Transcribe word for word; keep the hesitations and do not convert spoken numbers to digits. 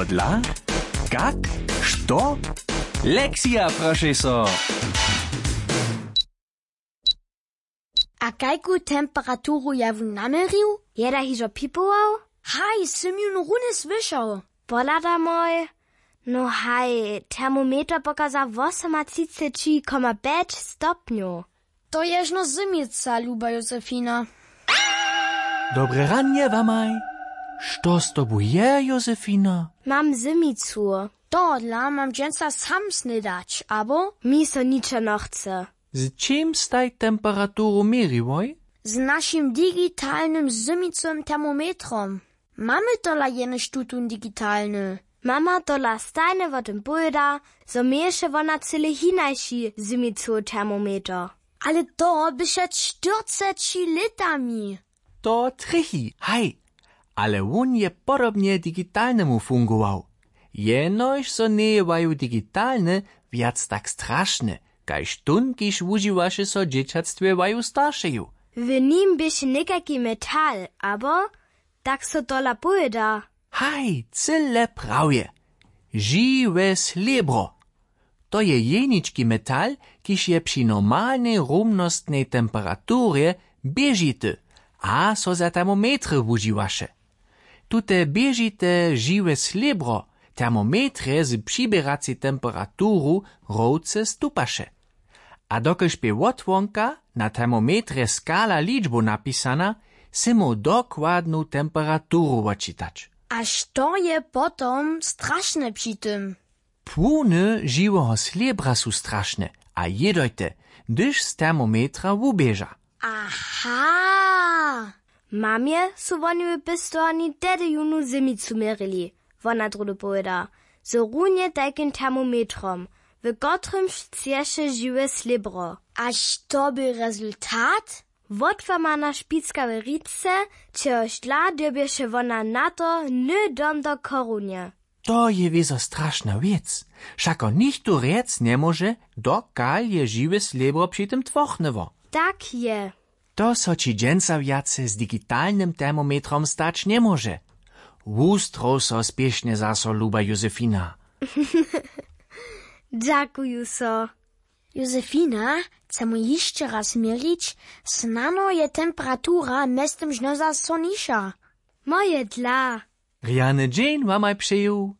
Dla? Kak? Što? Lekcija, prošej so. A kajku temperaturu ja wón naměrił? Je da hižo pipował? Haj, sym jón runje słyšał. Pohladamoj. No haj, termometer pokaza wosomatřiceći koma pjeć stopnjow. To ježno zymica, luba josefina. Dobre ranje wamaj. Što z tobu je, josefina? Mam zymicu. Tohodla mam dźensa sam snydać, abo? Mi so ničo nochce. Z čim staj temperaturu měriłoj? Z našim digitalnym zymiconym termometrom. Mamy tola jenož tutón digitalny? Mama tola stajnje wo tym powěda, zo měješe wona cyle hinaši zymicowy termometer. Ale to by před štyrceći lětami. To trjechi, haj. Ale wón je podobnje digitalnemu fungował. Jenož so njeje waju digitalny wjac tak strašny, kaž tón, kiž wužiwaše so w dźěćatstwje waju staršeju. W nim běše někajki metal, abo? Tak so tola powěda. Haj, cyle prawje. Žiwe slěbro. To je jenički metal, kiž je při normalnej rumnostnej temperaturje běžity a so za termometry wužiwaše. Tute běžite žiwe slěbro termometrje z přiběracej temperaturu rowce stupaše. A dokelž bě wotwonka na termometrje skala ličbow napisana, sy móhł dokładnu temperaturu wotčitać. A što je potom strašne při tym? Płuny žiweho slěbra su strašne a jědojte, hdyž z termometra wuběža. Aha. Mamje su woni w pěstowarni tehdy jónu zymicu měrili. Wona druhdy powěda, z runje tajkim termometrom, w kotrymž chceše žiwe slěbro. A što bě rezultat? Wotłamana špicka w rice, čehož dla dyrbješe wona na to hny dom do chorunje. To je wězo strašna wěc. Wšako nichtó rjec njemóže, dokal je žiwe slěbro při tym tłochnyło. Tak je. To so ći dźensa wjace z digitalnym termometrom stać njemóže. Wustrow so spěšnje zaso, luba josefina. Dźakuju so. Josefina, chcemy hišće raz měrić, snano je temperatura mjeztym žnoza so niša. Moje dla. Rjany dźeń wamaj přeju.